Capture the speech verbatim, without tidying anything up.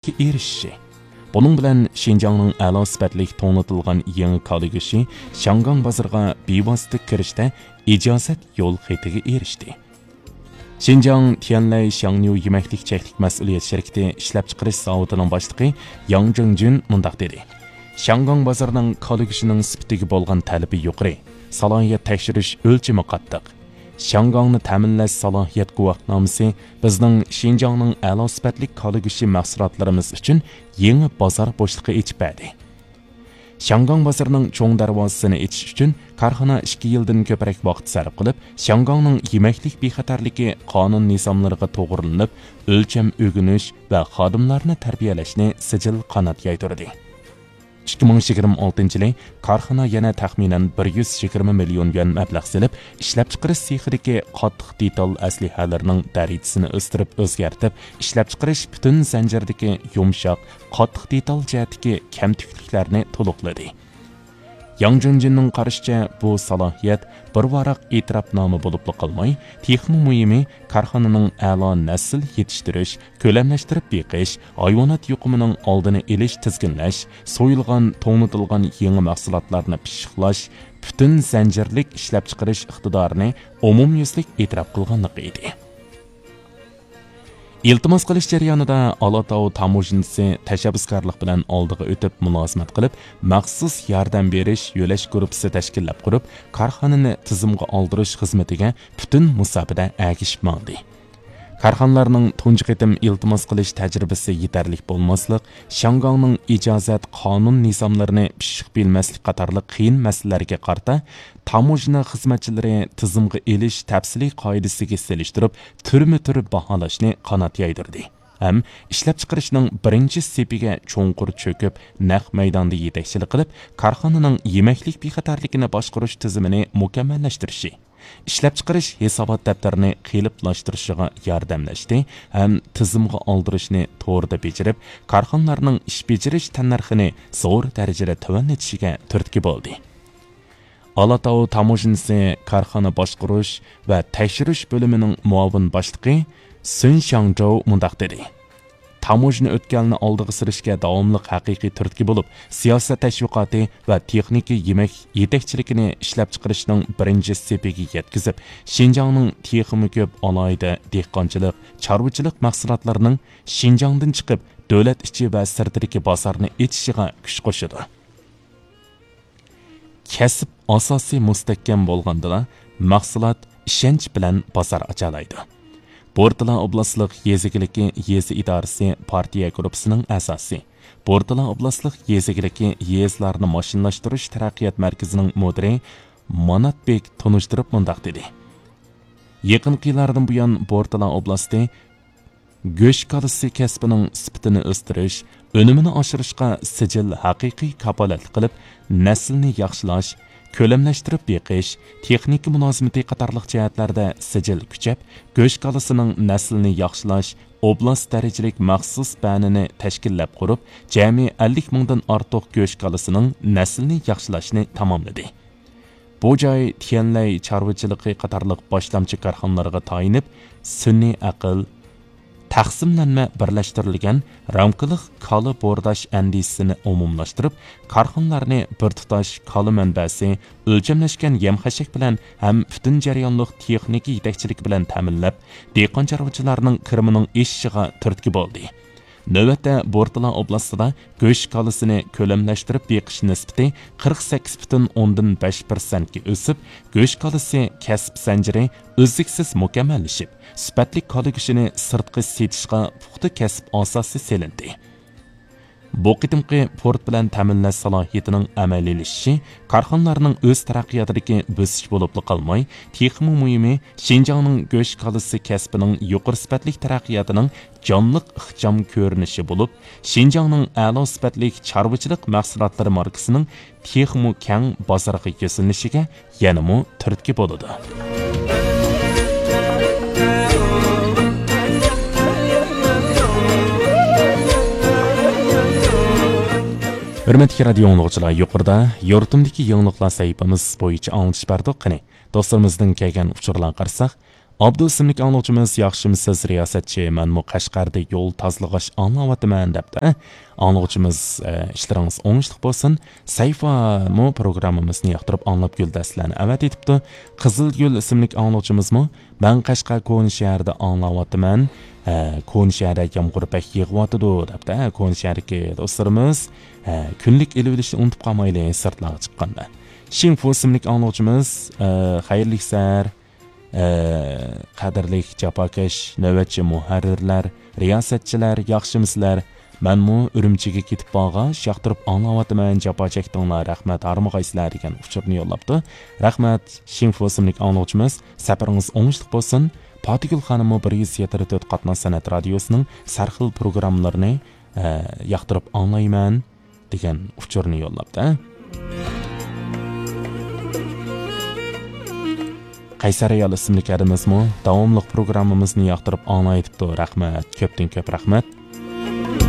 ئېرىشىشى. بۇنىڭ بىلەن شىنجاڭنىڭ ئەلا سۈپەتلىك توڭلىتىلغان يېڭى كالا گۆشى شياڭگاڭ بازىرىغا بىۋاسىتە كىرىشتە ئىجازەت يول خېتىگە ئېرىشتى. شىنجاڭ تيەنلەي شياڭنيۇ يېمەكلىك چەكلىك مەسئۇلىيەت شىركىتى ئىشلەپچىقىرىش زاۋۇتىنىڭ باشلىقى ياڭ جىڭجۈن مۇنداق دېدى: شياڭگاڭ بازىرىنىڭ كالا گۆشىنىڭ سۈپىتىگە بولغان تەلىپى يۇقىرى، سالاھىيەت تەكشۈرۈش ئۆلچىمى قاتتىق. شياڭگاڭنى تەمىنلەش سالاھىيەت گۇۋاھنامىسى بىزنىڭ شىنجاڭنىڭ ئەلا سۈپەتلىك كالا گۆشى مەھسۇلاتلىرىمىز ئۈچۈن يېڭى بازار بوشلۇقى ئېچىپ بەردى. شياڭگاڭ بازىرىنىڭ چوڭ دەرۋازىسىنى ئېچىش ئۈچۈن كارخانا ئىككى يىلدىن كۆپرەك ۋاقىت سەرپ قىلىپ، شياڭگاڭنىڭ يېمەكلىك بىخەتەرلىكى قانۇن نىزاملىرىغا توغرىلىنىپ، ئۆلچەم ئۆگىنىش ۋە خادىملارنى تەربىيەلەشنى سىجىل قانات يايدۇردى. ئىككى مىڭ يىگىرمە ئالتىنچى يىلى كارخانا يەنە تەخمىنەن بىر يۈز يىگىرمە مىليون يۈەن مەبلەغ سېلىپ، ئىشلەپچىقىرىش سېخىدىكى قاتتىق دېتال ئەسلىھەلىرىنىڭ دەرىجىسىنى ئۆستۈرۈپ ئۆزگەرتىپ، ئىشلەپچىقىرىش پۈتۈن زەنجىرىدىكى يۇمشاق، قاتتىق دېتال جەھەتتىكى كەمتۈكلۈكلەرنى تولۇقلىدى. ياڭ جۇنجىننىڭ قارىشىچە، بۇ سالاھىيەت بىر ۋاراق ئېتىراپنامە بولۇپلا قالماي، تېخىمۇ مۇھىمى، كارخانىنىڭ ئەلا نەسىل يېتىشتۈرۈش، كۆلەملەشتۈرۈپ بېقىش، ھايۋانات يۇقۇمىنىڭ ئالدىنى ئېلىش، تىزگىنلەش، سويۇلغان، توڭلىتىلغان يېڭى مەھسۇلاتلارنى پىششىقلاش، پۈتۈن زەنجىرلىك ئىشلەپچىقىرىش ئىقتىدارىنى ئومۇميۈزلۈك ئېتىراپ قىلغانلىقى ئىدى. ئىلتىماس قىلىش جەريانىدا ئالاتاۋ تاموژنىسى تەشەببۇسكارلىق بىلەن ئالدىغا ئۆتۈپ مۇلازىمەت قىلىپ، مەخسۇس ياردەم بېرىش يۆلەش گۇرۇپپىسى تەشكىللەپ قۇرۇپ، كارخانىنى تىزىمغا ئالدۇرۇش خىزمىتىگە پۈتۈن مۇساپىدە ئەگىشىپ ماڭدى. كارخانىلارنىڭ تۇنجى قېتىم ئىلتىماس قىلىش تەجرىبىسى يېتەرلىك بولماسلىق، شياڭگاڭنىڭ ئىجازەت قانۇن نىزاملىرىنى پىششىق بىلمەسلىك قاتارلىق قىيىن مەسىلىلەرگە قارىتا، تاموژنا خىزمەتچىلىرى تىزىمغا ئېلىش تەپسىلىي قائىدىسىگە سېلىشتۇرۇپ، تۈرمە تۈر باھالاشنى قانات يايدۇردى ھەم ئىشلەپچىقىرىشنىڭ بىرىنچى سېپىگە چوڭقۇر چۆكۈپ، نەق مەيداندا يېتەكچىلىك قىلىپ، كارخانىنىڭ يېمەكلىك بىخەتەرلىكىنى باشقۇرۇش تۈزۈمىنى مۇكەممەللەشتۈرۈشى، ئىشلەپچىقىرىش ھېسابات دەپتىرىنى قېلىپلاشتۇرۇشىغا ياردەملەشتى ھەم تىزىمغا ئالدۇرۇشنى توردا بېجىرىپ، كارخانىلارنىڭ ئىش بېجىرىش تەننەرخىنى زور دەرىجىدە تۆۋەنلىتىشىگە تۈرتكە بولدى. ئالاتاۋ تاموژنىسى كارخانا باشقۇرۇش ۋە تەكشۈرۈش بۆلۈمىنىڭ مۇئاۋىن باشلىقى سۈن شياڭجوۋ مۇنداق دېدى: تاموژنا ئۆتكەلنى ئالدىغا سۈرۈشكە داۋاملىق ھەقىقىي تۈرتكە بولۇپ، سىياسەت تەشۋىقاتى ۋە تېخنىكا يېمەك يېتەكچىلىكىنى ئىشلەپچىقىرىشنىڭ بىرىنچى سېپىگە يەتكۈزۈپ، شىنجاڭنىڭ تېخىمۇ كۆپ ئالاھىدە دېھقانچىلىق، چارۋىچىلىق مەھسۇلاتلىرىنىڭ شىنجاڭدىن چىقىپ، دۆلەت ئىچى ۋە سىرتىدىكى بازارنى ئېچىشىغا كۈچ قوشىدۇ. كەسىپ ئاساسى مۇستەھكەم بولغاندىلا، مەھسۇلات ئىشەنچ بىلەن بازار ئاچالايدۇ. بورتالا ئوبلاستلىق يېزا ئىگىلىكى يېزا ئىدارىسى پارتىيە گۇرۇپپىسىنىڭ ئەزاسى، بورتالا ئوبلاستلىق يېزا ئىگىلىكى يېزىلارنى ماشىنىلاشتۇرۇش تەرەققىيات مەركىزىنىڭ مۇدىرى مانات بېك تونۇشتۇرۇپ مۇنداق دېدى: يېقىنقى يىللاردىن بۇيان، بورتالا ئوبلاستى گۆش كالىسى كەسپىنىڭ سۈپىتىنى ئۆستۈرۈش، ئۈنۈمىنى ئاشۇرۇشقا سىجىل ھەقىقىي كاپالەتلىك قىلىپ، نەسىلنى ياخشىلاش، كۆلەملەشتۈرۈپ بېقىش، تېخنىكا مۇلازىمىتى قاتارلىق جەھەتلەردە سىجىل كۈچەپ، گۆش كالىسىنىڭ نەسلىنى ياخشىلاش ئوبلاست دەرىجىلىك مەخسۇس بەنىنى تەشكىللەپ قۇرۇپ، جەمئىي ئەللىك مىڭدىن ئارتۇق گۆش كالىسىنىڭ نەسلىنى ياخشىلاشنى تاماملىدى. بۇ جاي تيەنلەي چارۋىچىلىقى قاتارلىق باشلامچى كارخانىلارغا تايىنىپ، سۈنئىي ئەقىل، تەقسىملەنمە بىرلەشتۈرۈلگەن رامكىلىق كالا بورداش ئەندىزىسىنى ئومۇملاشتۇرۇپ، كارخانىلارنى بىر تۇتاش كالا مەنبەسى، ئۆلچەملەشكەن يەم-خەشەك بىلەن ھەم پۈتۈن جەريانلىق تېخنىكا يېتەكچىلىكى بىلەن تەمىنلەپ، دېھقان چارۋىچىلارنىڭ كىرىمىنىڭ ئېشىشىغا تۈرتكە بولدى. نۆۋەتتە بورتالا ئوبلاستىدا گۆش كالىسىنى كۆلەملەشتۈرۈپ بېقىش نىسبىتى قىرىق سەككىز پۈتۈن ئوندىن بەش پىرسەنتكە ئۆسۈپ، گۆش كالىسى كەسىپ زەنجىرى ئۈزلۈكسىز مۇكەممەللىشىپ، سۈپەتلىك كالا گۆشىنى سىرتقا سېتىشقا پۇختا كەسىپ ئاساسى سېلىندى. بۇ قېتىمقى پورت بىلەن تەمىنلەش سالاھىيىتىنىڭ ئەمەلىيلىشىشى كارخانىلارنىڭ ئۆز تەرەققىياتىدىكى بۆسۈش بولۇپلا قالماي، تېخىمۇ مۇھىمى، شىنجاڭنىڭ گۆش كالىسى كەسپىنىڭ يۇقىرى سۈپەتلىك تەرەققىياتىنىڭ جانلىق ئىخچام كۆرۈنۈشى بولۇپ، شىنجاڭنىڭ ئەلا سۈپەتلىك چارۋىچىلىق مەھسۇلاتلىرى ماركىسىنىڭ تېخىمۇ كەڭ بازارغا يۈزلىنىشىگە يەنىمۇ تۈرتكە بولىدۇ. ھۆرمەتلىك رادىيو ئاڭلىغۇچىلار، يۇقىرىدا يۇرتۇمدىكى يېڭىلىقلار سەھىپىمىز بويىچە ئاڭلىتىش بەردۇق. قېنى، دوستلىرىمىزدىن كەلگەن ئۇچۇرلارغا قارىساق، ئابدۇ ئىسىملىك ئاڭلىغۇچىمىز، ياخشىمۇسىز رىياسەتچى، مەنمۇ قەشقەردە يول تازىلىغاچ ئاڭلاۋاتىمەن دەپتۇ. ئاڭلىغۇچىمىز، ئە، ئىشلىرىڭىز ئوڭۇشلۇق بولسۇن. سەيفامۇ پروگراممىمىزنى ياقتۇرۇپ ئاڭلاپ گۈلدەستىلەرنى ئەۋەتىۋېتىپتۇ. قىزىلگۈل ئىسىملىك ئاڭلىغۇچىمىزمۇ، مەن قەشقەر كونا شەھەردە ئاڭلاۋاتىمەن. ھە، كونا شەھەردە يامغۇر بەك يېغىۋاتىدۇ دەپتۇ. ھە، كونا شەھەردىكى دوستلىرىمىز، ھە، كۈنلۈك ئېلىۋېلىشنى ئۇنتۇپ قالمايلى سىرتلارغا چىققاندا. شىڭفۇ ئىسىملىك ئاڭلىغۇچىمىز، ئە، خەيرلىك سەھەر. ئە، قەدىرلىك جاپاكەش نۆۋەتچى مۇھەررىرلەر، رىياسەتچىلەر، ياخشىمۇسىلەر؟ مەنمۇ ئۈرۈمچىگە كېتىپ بارغاچ ياقتۇرۇپ ئاڭلاۋاتىمەن، جاپا چەكتىڭلار، رەھمەت، ھارمىغايسىلەر دېگەن ئۇچۇرنى يوللاپتۇ. رەھمەت، شىڭفۇ ئىسىملىك ئاڭلىغۇچىمىز، سەپىرىڭىز ئوڭۇشلۇق بولسۇن. پاتىگۈل خانىممۇ بىر يۈز يەتتە تۆت قاتناش سەنئەت رادىيوسىنىڭ سەرخىل پروگراممىلىرىنى، ئە، ياقتۇرۇپ ئاڭلايمەن دېگەن ئۇچۇرنى يوللاپتۇ. قەيسەر ئايال ئىسىملىك ھەدىمىزمۇ داۋاملىق پروگراممىمىزنى ياقتۇرۇپ ئاڭلايتىپتۇ. رەھمەت، كۆپتىن كۆپ رەھمەت.